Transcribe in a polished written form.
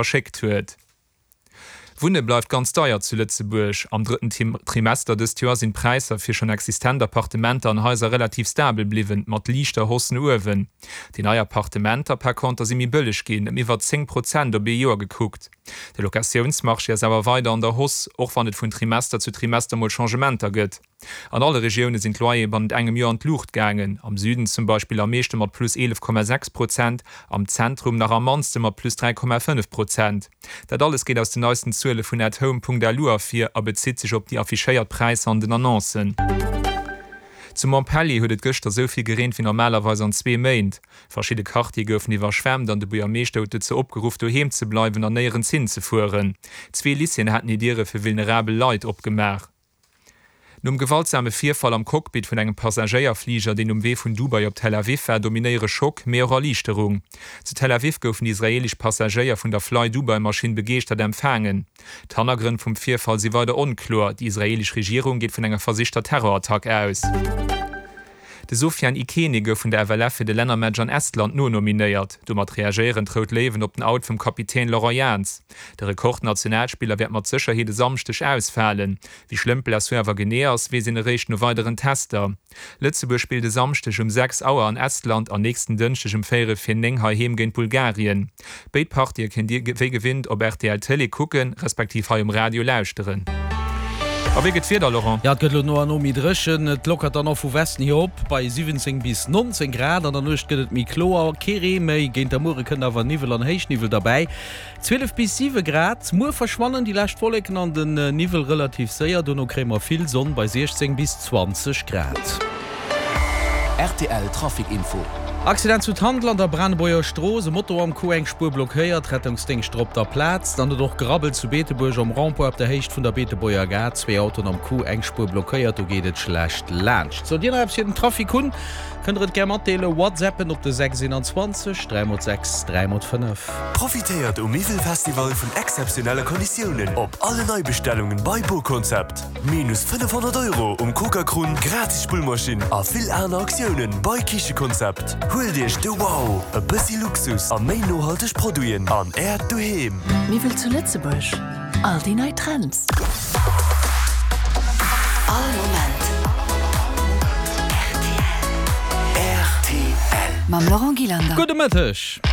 Verschéckt huet. Wunne bleift ganz deier zu Lëtzebuerg. Am drëtten Trimester dëst Joer sinn d'Präisser fir schonn existent Appartementer an Haiser relativ stabel bliwwen, mat liichter Hausse no uewen. Déi nei Appartementer par conter si méi bëlleg ginn, ëm iwwer 10 Prozent op ee Joer gekuckt. De Locatiounsmarché ass awer weider an der Hausse, och wann et vun Trimester zu Trimester mol Changementer gëtt. An alle Regioune sinn d'Loyere bannent engem Joer an d'Luucht gaangen, am Süden zum Beispill am meeschte mat plus 11,6 Prozent, am Zentrum nach am mannste mat plus 3,5 Prozent. Dat alles geet aus den neisten Zuele vun Athome.lu ervir a bezitt sech op déi affichéiert Präisser an den Annoncen. Zu Montpellier huet et gëschter esou vill gereent wéi normalerweis an zwee Méint. Verschidde Quartiere goufen iwwerschwemmt an de Buergermeeschter huet dozou opgeruff, doheem ze bleiwen an néierens hinzefueren. Zwee Lycéeën haten hir Diere fir vulnerabel Leit opgemaach. Nom gewaltsame Virfall am Cockpit vun engem Passagéierfliger, deen um Wee vun Dubai op Tel Aviv war, dominéiere Schock, mee och Erliichterung. Zu Tel Aviv goufen déi israeelesch Passagéier vun der Fly-Dubai-Maschinn begeeschtert empfaangen. D'Hannergrënn vum Virfall si weider onkloer, déi israeelesch Regierung geet vun enger versichter Terrorattack aus. De Sofiane Ikene gouf vun der FLF fir de Lännermatch an Estland nonominéiert. Domat reagéieren d'Rout Léiwen op den Out vum Kapitän Laurent Jans. De Rekordnationalspiller wäert mat Sécherheet e Samschdeg ausfalen. Wéi schlëmm d'Blessur awer genee ass, weess een eréischt no weideren Tester. Lëtzebuerg spillt e Samschdeg um 6 Auer an Estland an nächsten Dënschdeg um véierel vir 9 heiheem géint Bulgarien. Béid Partië kéint Dir wéi gewinnt op rtl Télé kucken, respektiv hei um Radio lauschteren. A wéi gëtt d'Wieder, Laurent? Jo, et gëtt elo no an no méi dréchen. Et lockert dann och vu Westen hier op bei 17 bis 19 Grad. An der Nuecht gëtt et méi kloer, kee Ree méi. Géint der Muere kënnt awer Niwwel an Héichniwwel derbäi, 12 bis 7 Grad. Muer verschwannen déi lescht Wolleken an den Niwwel relativ séier, dono kréie mer vill Sonn bei 16 bis 20 Grad. Rtl Trafic Info. Accident zu Tandel an der Branebuerger Strooss, e Moto am Coup, eng Spuer blockéiert, Rettungsdéngscht op der Plaz. Dann huet och gerabbelt zu Beetebuerg um Rond-point op der Héicht vun der Beetebuerger Gare, zwee Autoen am Coup, eng Spuer blockéiert, do geet et schlecht laanscht. Sollt Dir nach eppes fir den Trafic hunn, kënnt der et gär matdeelen, WhatsAppen op de 6 21 3 x 6 3 x 5. Profitéiert um Miwwelfestival vun exzeptionelle Konditiounen op alle Neibestellungen bei BoConcept. Minus 500 Euro um Coca-Krunn, gratis Spullmaschinn a vill aner Aktiounen bei Kichekonzept. Huelt Iech de Wow, e bëssi Luxus a méi nohalteg Produiten an Äert Doheem. Miwwel zu Lëtzebuerg, all déi nei Trends. All Moment rtl. Mam Laurent Gillander. Gudde Mëtteg.